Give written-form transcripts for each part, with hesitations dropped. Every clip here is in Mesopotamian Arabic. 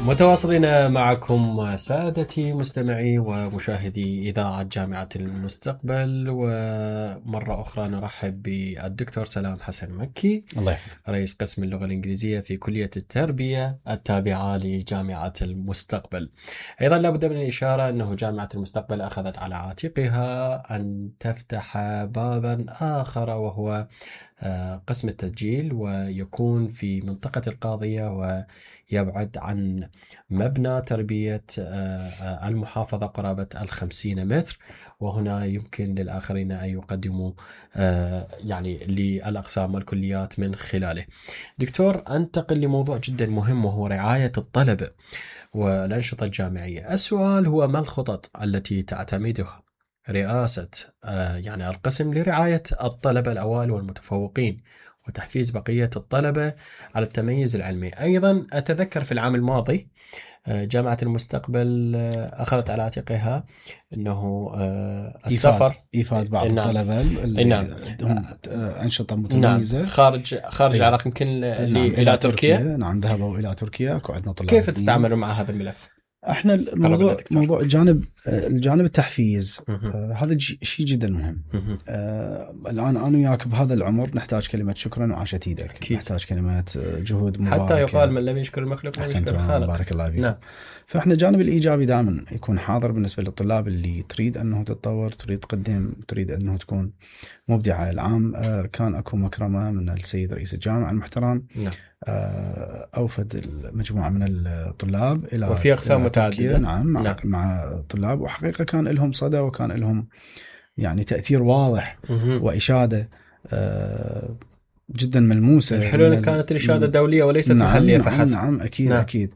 متواصلين معكم سادتي مستمعي ومشاهدي إذاعة جامعة المستقبل، ومرة أخرى نرحب بالدكتور سلام حسن مكي، الله يحفظك، رئيس قسم اللغة الإنجليزية في كلية التربية التابعة لجامعة المستقبل. أيضا لا بد من الإشارة أنه جامعة المستقبل أخذت على عاتقها أن تفتح بابا آخر، وهو قسم التسجيل، ويكون في منطقة القاضية ويبعد عن مبنى تربية المحافظة قرابة 50 متر، وهنا يمكن للآخرين أن يقدموا يعني للأقسام والكليات من خلاله. دكتور، أنتقل لموضوع جدا مهم وهو رعاية الطلبة والأنشطة الجامعية. السؤال هو: ما الخطط التي تعتمدها رئاسة يعني القسم لرعاية الطلبة الأوائل والمتفوقين وتحفيز بقية الطلبة على التميز العلمي؟ أيضا أتذكر في العام الماضي جامعة المستقبل أخذت على عاتقها أنه السفر إيفاد بعض الطلبة اللي عندهم أنشطة متميزة، نعم، خارج العراق، يمكن إلى تركيا. نعم، ذهبوا إلى تركيا وعندنا طلاب. كيف تتعاملوا مع هذا الملف؟ احنا موضوع الجانب التحفيز هذا شيء جدا مهم. الان انا وياك بهذا العمر نحتاج كلمه شكرا وعاشت ايدك، نحتاج كلمه جهود مباركه، حتى يقال من لم يشكر المخلوق لم يشكر الخالق. بارك الله فيك. نعم. فاحنا الجانب الايجابي دائما يكون حاضر بالنسبه للطلاب اللي تريد انه تتطور، تريد تقدم، تريد انه تكون مبدعه. العام كان اكو مكرمه من السيد رئيس الجامعه المحترم. نعم. أوفد المجموعة من الطلاب إلى وفي أقسام متعددة. نعم. مع طلاب، وحقيقة كان لهم صدى وكان لهم يعني تأثير واضح وإشادة جدا ملموسة. الحلول كانت الإشادة دولية وليست محلية فحسب. نعم أكيد. نعم. أكيد.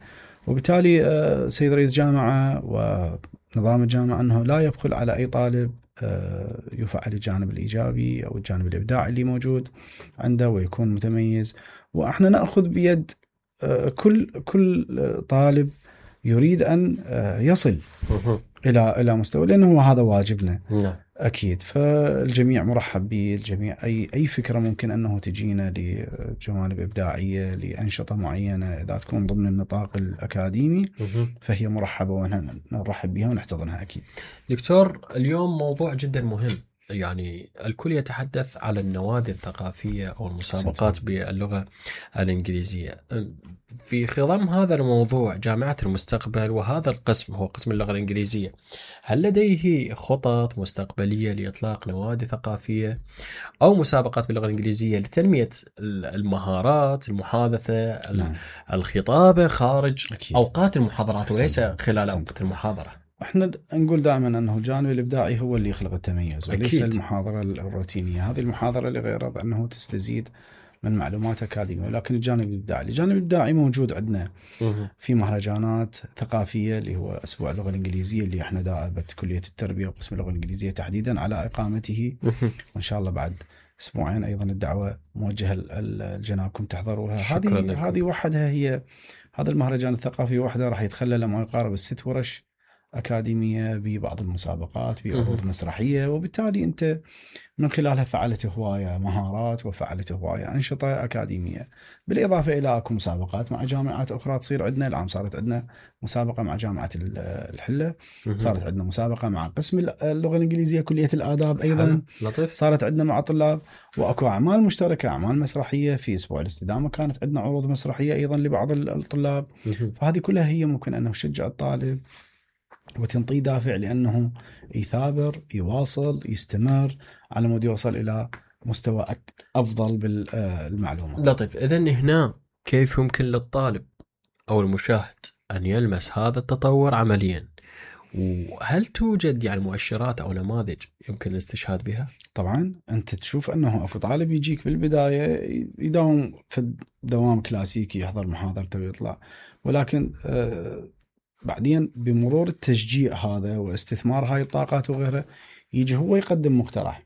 وبالتالي سيد رئيس جامعة ونظام الجامعة أنه لا يبخل على أي طالب يفعل الجانب الإيجابي أو الجانب الإبداعي اللي موجود عنده ويكون متميز. وإحنا نأخذ بيد كل طالب يريد أن يصل إلى مستوى، لأنه هذا واجبنا. أكيد. فالجميع مرحب به، الجميع أي فكرة ممكن أنه تجينا لجوانب إبداعية لأنشطة معينة إذا تكون ضمن النطاق الأكاديمي فهي مرحبة ونرحب بها ونحتضنها أكيد. دكتور، اليوم موضوع جدا مهم، يعني الكل يتحدث على النوادي الثقافية أو المسابقات باللغة الإنجليزية. في خضم هذا الموضوع جامعة المستقبل وهذا القسم هو قسم اللغة الإنجليزية، هل لديه خطط مستقبلية لإطلاق نوادي ثقافية أو مسابقات باللغة الإنجليزية لتنمية المهارات، المحادثة، الخطابة خارج أوقات المحاضرات وليس خلال أوقات المحاضرة؟ احنا نقول دائما انه الجانب الابداعي هو اللي يخلق التميز وليس أكيد. المحاضره الروتينيه. هذه المحاضره لغرض انه تستزيد من معلومات اكاديميه، ولكن الجانب الابداعي موجود عندنا في مهرجانات ثقافيه اللي هو اسبوع اللغه الانجليزيه اللي احنا دائبت كليه التربيه وقسم اللغه الانجليزيه تحديدا على اقامته، وان شاء الله بعد اسبوعين ايضا الدعوه موجهه لجنابكم تحضروها. هذه وحدها هي هذا المهرجان الثقافي وحده راح يتخلل ما يقارب 6 ورش أكاديمية ببعض المسابقات بعروض مسرحية، وبالتالي أنت من خلالها فعلت هواية مهارات وفعلت هواية أنشطة أكاديمية، بالإضافة إلى أكو مسابقات مع جامعات أخرى تصير عندنا. العام صارت عندنا مسابقة مع جامعة الحلة، صارت عندنا مسابقة مع قسم اللغة الإنجليزية كلية الآداب أيضا، صارت عندنا مع طلاب، وأكو أعمال مشتركة، أعمال مسرحية. في أسبوع الاستدامة كانت عندنا عروض مسرحية أيضا لبعض الطلاب. فهذه كلها هي ممكن أنه تشجع الطالب وتنطيه دافع لأنه يثابر، يواصل، يستمر على مود يوصل إلى مستوى أفضل بالمعلومة. لطيف. إذن هنا كيف يمكن للطالب أو المشاهد أن يلمس هذا التطور عمليا؟ وهل توجد يعني مؤشرات أو نماذج يمكن الاستشهاد بها؟ طبعا أنت تشوف أنه أكو طالب يجيك بالبداية يداوم في دوام كلاسيكي، يحضر محاضرته ويطلع، ولكن بعدين بمرور التشجيع هذا واستثمار هاي الطاقات وغيرها يجي هو يقدم مقترح،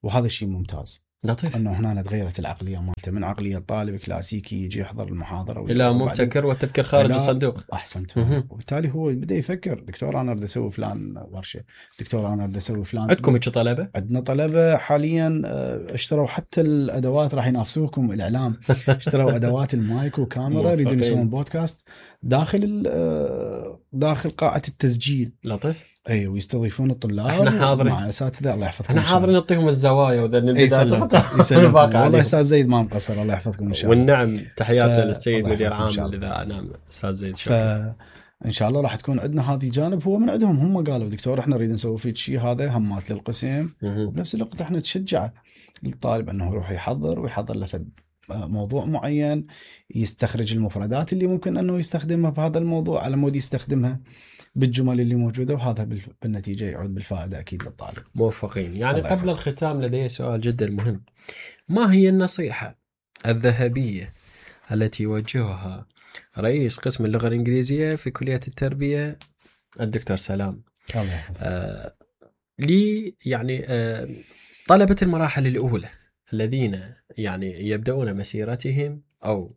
وهذا الشيء ممتاز. لطيف. انه هنا تغيرت العقليه مالته من عقليه طالب كلاسيكي يجي يحضر المحاضره الى مبتكر والتفكير خارج الصندوق. احسنت. وبالتالي هو بدا يفكر، دكتور انا اريد اسوي فلان ورشه، دكتور انا اريد اسوي فلان. عندكم هيك طلبه؟ عندنا طلبه حاليا اشتروا حتى الادوات، راح ينافسوكم الاعلام، اشتروا ادوات المايك وكاميرا، يريدون يسوون بودكاست داخل قاعه التسجيل. لطيف. اي، ويستضيفون الطلاب. احنا حاضرين مع اساتذه، الله يحفظكم. احنا حاضرين نعطيهم الزوايا وذن البدايات. والله استاذ زيد ما مقصر، الله يحفظكم ان شاء الله. والنعم، تحياتنا للسيد مدير عام الاذاعه. نعم استاذ زيد، شكرا. ان شاء الله راح تكون عندنا هذه جانب هو من عندهم، هم قالوا دكتور احنا نريد نسوي فيك شيء، هذا همات للقسم، وبنفس الوقت احنا نشجع الطالب انه يروح يحضر له موضوع معين، يستخرج المفردات اللي ممكن انه يستخدمها بهذا الموضوع على مود يستخدمها بالجمل اللي موجوده، وهذا بالنتيجه يعود بالفائده اكيد للطالب. موفقين. يعني قبل الختام لدي سؤال جدا مهم. ما هي النصيحه الذهبيه التي يوجهها رئيس قسم اللغه الانجليزيه في كليه التربيه الدكتور سلام لي يعني طلبه المراحل الاولى الذين يعني يبدأون مسيرتهم أو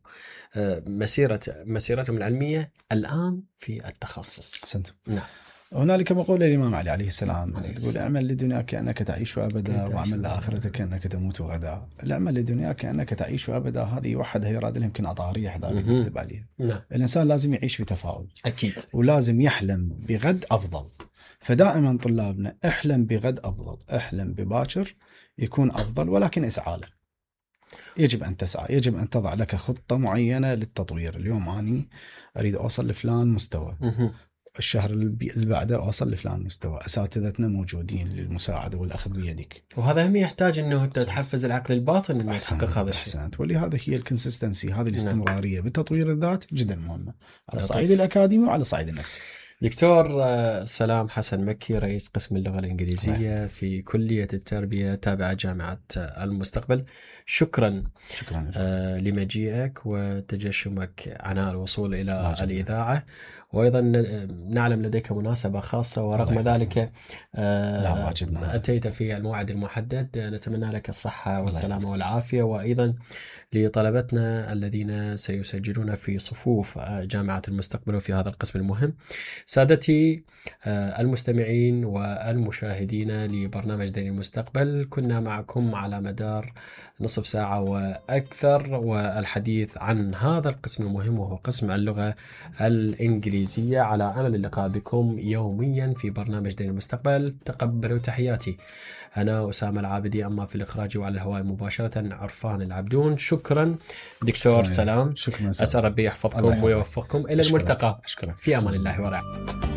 مسيرتهم العلمية الآن في التخصص؟ أحسنت. نعم. هنالك مقولة الإمام علي عليه السلام يقول: اعمل لدنياك كأنك تعيش أبدا، واعمل لآخرتك كأنك تموت غدا. اعمل لدنياك كأنك تعيش أبدا، هذه وحدها يراد لهم يمكن أطاريح ذلك نكتب عليها. نعم. الإنسان لازم يعيش في تفاؤل أكيد، ولازم يحلم بغد أفضل. فدائما طلابنا احلم بغد أفضل، احلم بباكر يكون أفضل، ولكن اسعى له. يجب أن تسعى، يجب أن تضع لك خطة معينة للتطوير. اليوم أنا أريد أوصل لفلان مستوى، الشهر اللي بعده أوصل لفلان مستوى. أساتذتنا موجودين للمساعدة والأخذ بيدك، وهذا هم يحتاج أنه تحفز العقل الباطن أنه يحقق هذا الشيء. أحسنت. ولهذا هي الكونسستنسي، هذه الاستمرارية بتطوير الذات جدا مهمة على صعيد الأكاديمي وعلى صعيد النفسي. دكتور سلام حسن مكي، رئيس قسم اللغة الإنجليزية في كلية التربية تابعة جامعة المستقبل، شكرا لمجيئك وتجشمك عناء الوصول إلى الإذاعة. وأيضا نعلم لديك مناسبة خاصة، ورغم ذلك أتيت في الموعد المحدد. نتمنى لك الصحة والسلامة والعافية، وأيضا لطلبتنا الذين سيسجلون في صفوف جامعة المستقبل وفي هذا القسم المهم. سادتي المستمعين والمشاهدين لبرنامج دين المستقبل، كنا معكم على مدار نصف ساعة وأكثر، والحديث عن هذا القسم المهم وهو قسم اللغة الإنجليزية. على أمل اللقاء بكم يوميا في برنامج دين المستقبل. تقبلوا تحياتي، أنا أسامة العابدي، أما في الإخراج وعلى الهواء مباشرة عرفان العبدون. شكرا دكتور سلام، شكرا. أسأل ربي يحفظكم ويوفقكم. إلى الملتقى، في أمان الله ورعايته.